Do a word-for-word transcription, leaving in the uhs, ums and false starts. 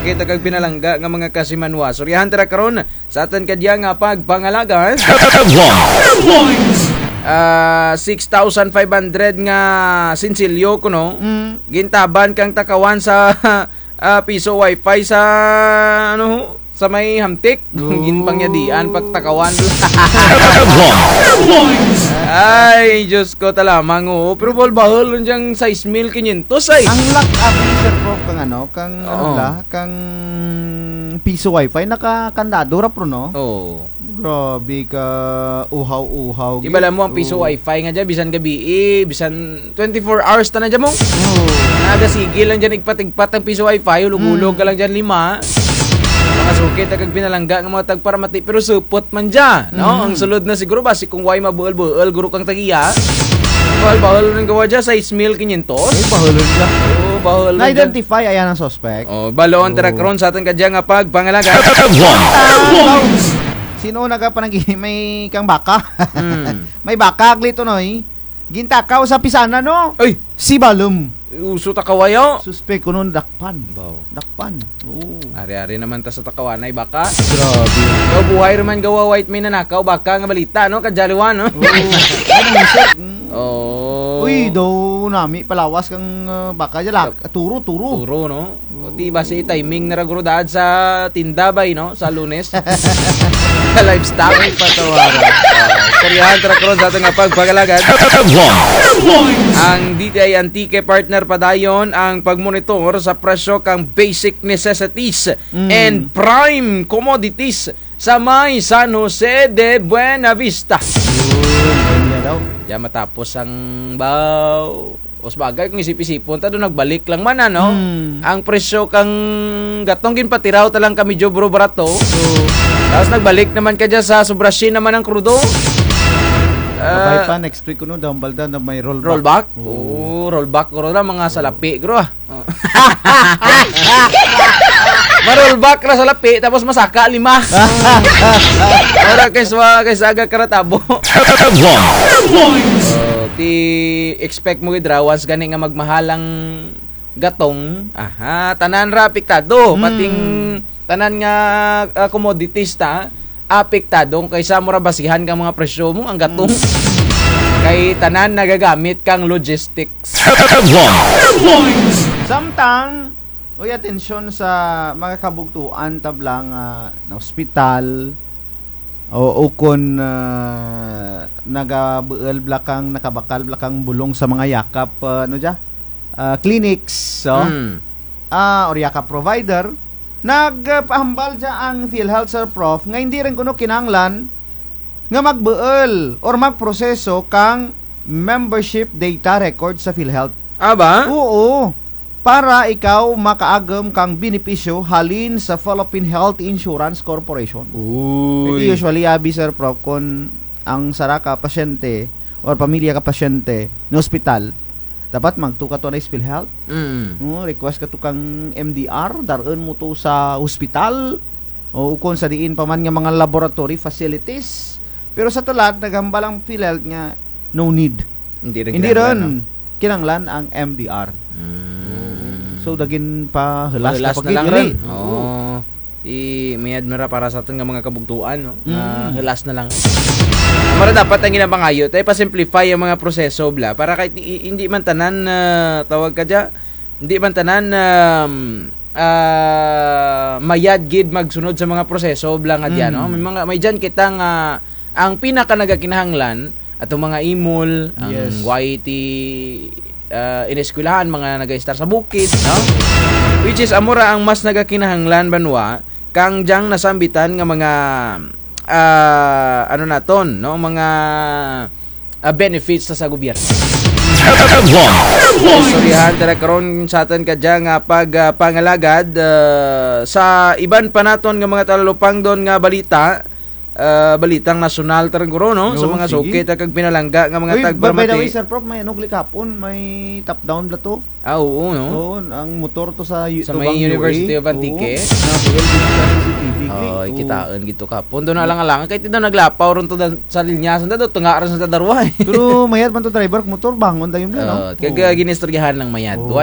Kita kag pinalangga nga mga kasimanwa. Istoryahan tara karon sa atun kadya nga pagpangalagad. Headlines. Ah, six thousand five hundred nga sinsilyo kuno. Mm. Gintaban kang takawan sa, ah, piso wifi sa, ano, sa may Hamtic. Oh. Ginpangyadian pagtakawan. Headlines. Ay, Diyos ko, talamang, oo. Pero bahul-bahul lang dyang sais mil kinyentos, ay. Ang lak abi, Sir Prof, kang ano, kang, ano Oo. bala, kang piso wifi, nakakandado ra, pro, no? Oo. Grabe ka, uhaw-uhaw, Di bala mo ang piso Oo. wifi nga dyan, bisan gabii, bisan twenty-four hours ta na dyan mo. Oo. Nagasigil lang dyan, igpat-igpat ang piso wifi, hulog-hulog Mm. ka lang dyan, lima. Mga suki, ta kag pinalangga nga mga tagparamati, pero supot man dyan, no? Mm. Ang sulod na siguro, basi kung way mabuul-buul, guro kang tagiya. Bahul-bahul nang gawa dyan, sais mil kinyentos. Ay, bahul dyan. Oo, bahul dyan. Na-identify, ayan ang suspect. Oh, baloon tara Oo. karon sa atun kadya nga pagpangalagad. Headlines. Sin-o nagapanagi-, may kang baka. Hmm. May baka, agli to, no, eh. Gintakaw sa pisanan, no? Ay! Si Balum. Uso takaw ayo. Suspek kuno dakpan. Baw. Dakpan. Oo. Ari-ari naman ta sa takawanay baka. Grabe. Daw buhay ra man gawa, way may nanakaw baka nga balita, no? Kadya liwan, no? Oo. Ano, sir? Mm. Oo. Uy, daw nami palawas kang, ah, baka dyan, lak-, turo, turo. Turo, no? O, di basi timing na ra guro daad sa tinda bay, no? Sa Lunes. Sa livestock. Ay, patawaran. Ah, istoryahan tara karon sa atun nga pagpangalagad. Headlines. Ang D T I Antique partner padayon ang pagmonitor sa presyo kang basic necessities Mm. and prime commodities sa may San Jose de Buenavista. Yun, yun nga daw. Dyan matapos ang baw. O sabagay, kung isip-isipon ta, daw nagbalik lang man, ano? Hmm. Ang presyo kang gatong ginpatiraw ta lang ka medyo bro barato. Oo. Tapos nagbalik naman kadya sa sobra syen naman ang krudo. Kabay Ah, pa, next week kuno daw ang balda na may rollback. Rollback? Oo. Oo, rollback, guro na, mga salapi, guro, ah. Oh. Ma-rollback ra salapi, tapos masaka lima. Para kay swa-, kay saga karatabo. Headlines. Oh, ti expect mo gid ra, once gani nga magmahal ang gatong, aha, tanan ra apektado, Hmm. pating tanan nga, ah, commodities ta, apektado kaysa mo ra basihan kang mga presyo mo, ang gatong. Hmm. Kay tanan nagagamit kang logistics. Headlines. Samtang, uy, atensyon sa mga kabugtuan ta bala nga, ah, na ospital, o ukon, ah, nagabuul bala kang, nakabakal bala kang bulong sa mga yakap, ah, ano dya? Ah, clinics, so? Hmm. Ah, or yakap provider, nagpahambal dya ang PhilHealth, Sir Prof, nga hindi run kuno kinahanglan nga magbuul or magproseso kang membership data record sa PhilHealth. Ah, ba? Oo. Para ikaw makaagum kang benepisyo halin sa Philippine Health Insurance Corporation. Uy. Kay usually, abi, Sir Prof, kon ang sara ka pasyente or pamilya ka pasyente na ospital, dapat magto kato na PhilHealth. Mm. Oh, request kato kang M D R, dar-un mo to sa ospital. O ukon sa diin pa man nga mga laboratory facilities. Pero sa tulad, naghambal ang PhilHealth nga no need. Hindi run Hindi kinahanglan, run. no? Kinahanglan ang M D R. Mm. So, dagin pa hulas Hulas na na pagid lang diri. run. Oo. Oo. I-, mayad man ra para sa atun nga mga kabugtuan, no? Nga Mm. hulas na lang. Mara dapat ang ginapangayo, tay pa-simplify ang mga proseso, bala. Para kahit i-, hindi man tanan, ah, tawag ka dya, hindi man tanan, um, ah, mayad gid magsunod sa mga proseso, bala nga dyan, no? Mm. May mga, may dyan kita nga, ang pinaka nagakinahanglan, atong mga imol, ang Yes. Y T, ah, ineskwelahan, mga nagaestar sa bukid, no? Which is, amo ra ang mas nagakinahanglan banwa, kang dyang nasambitan nga mga, ah, ano naton, no? Mga, ah, benefits sa, sa gobyerno. Headlines. Istoryahan tara karon sa atun kadya nga pag, ah, pangalagad, ah, sa iban pa naton nga mga talalupangdon nga balita, ah, balitang nasyonal tara guro, no? Sa Oo, mga sige. suki ta kag pinalangga nga mga Uy, by, by the way, tagparamati. Sir Prof, may ano, gali kahapon, may top down bala to. Ah, oo, no? Oo, ang motor to sa U-, Sa to may bang University U A. of Antique. Oo. Nabuul dito sa C C T V, gali. Oo, Oo. kitaun gid to kahapon. Daw naalang-alangan, kay ti daw naglapaw run to da-, sa linya, sanda daw, tunga run sa darwa, eh. Pero mayad man to driver, motor, bangon dayon bala, no? Oo, kag, Oo. ah, ginistoryahan lang mayad. Oo. Why